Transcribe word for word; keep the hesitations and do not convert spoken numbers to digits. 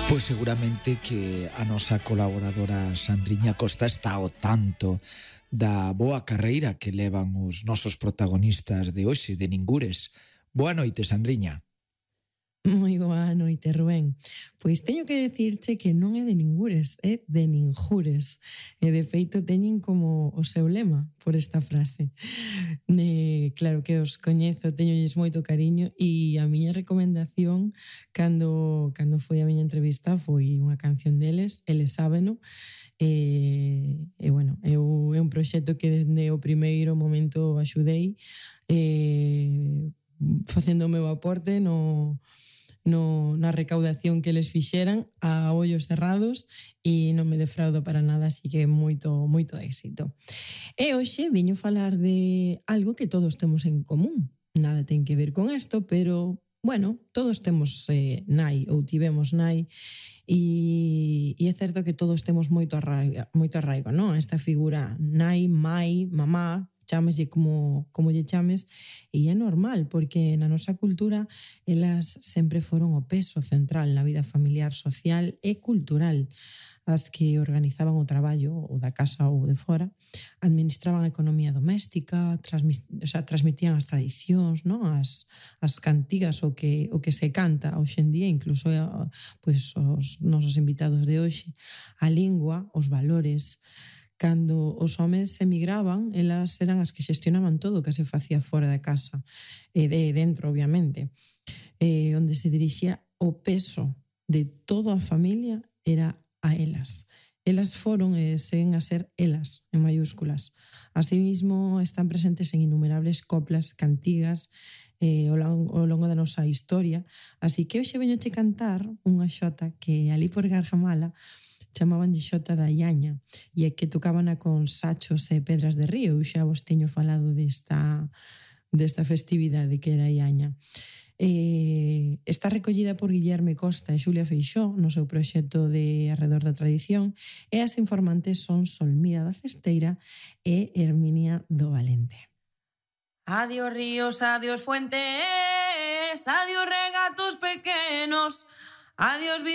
Pois seguramente que a nosa colaboradora Sandriña Costa está ao tanto da boa carreira que levan os nosos protagonistas de hoxe, de Ningures. Boa noite, Sandriña. Moi boa noite, Rubén. Pois teño que decirche que non é de Ningures, é de Ninjures. E de feito teñen como o seu lema por esta frase. E, claro que os coñezo, teñolles moito cariño e a miña recomendación cando, cando foi a miña entrevista foi unha canción deles, eles sábeno, e, e bueno, eu, é un proxecto que desde o primeiro momento axudei e, facendo o meu aporte no, no, na recaudación que les fixeran a ollos cerrados e non me defraudo para nada, así que moito, moito éxito. E hoxe viño falar de algo que todos temos en común. Nada ten que ver con isto, pero, bueno, todos temos eh, nai ou tivemos nai e, e é certo que todos temos moito arraigo, moito arraigo, non? Esta figura nai, mai, mamá, chámeslle como, como lle chames, e é normal, porque na nosa cultura elas sempre foron o peso central na vida familiar, social e cultural. As que organizaban o traballo, ou da casa ou de fora, administraban a economía doméstica, transmis, o sea, transmitían as tradicións, non? As, as cantigas, o que, o que se canta hoxe en día, incluso pues, os nosos invitados de hoxe, a lingua, os valores. Cando os homes emigraban, elas eran as que xestionaban todo o que se facía fora da casa, e de dentro, obviamente, e onde se dirixía o peso de toda a familia era a elas. Elas foron e seguen a ser elas, en mayúsculas. Asimismo, están presentes en innumerables coplas, cantigas, eh, ao, longo, ao longo da nosa historia. Así que hoxe veñoche cantar unha xota que ali por Gargamala chamaban de xota da Iaña, e é que tocábana con sachos e pedras de río. Eu xa vos teño falado desta, desta festividade que era a Iaña. Eh, está recollida por Guillerme Costa e Xulia Feixó no seu proxecto de Arredor da Tradición, e as informantes son Solmira da Cesteira e Herminia do Valente. Adiós ríos, adiós fuentes, adiós regatos pequenos, adiós vistas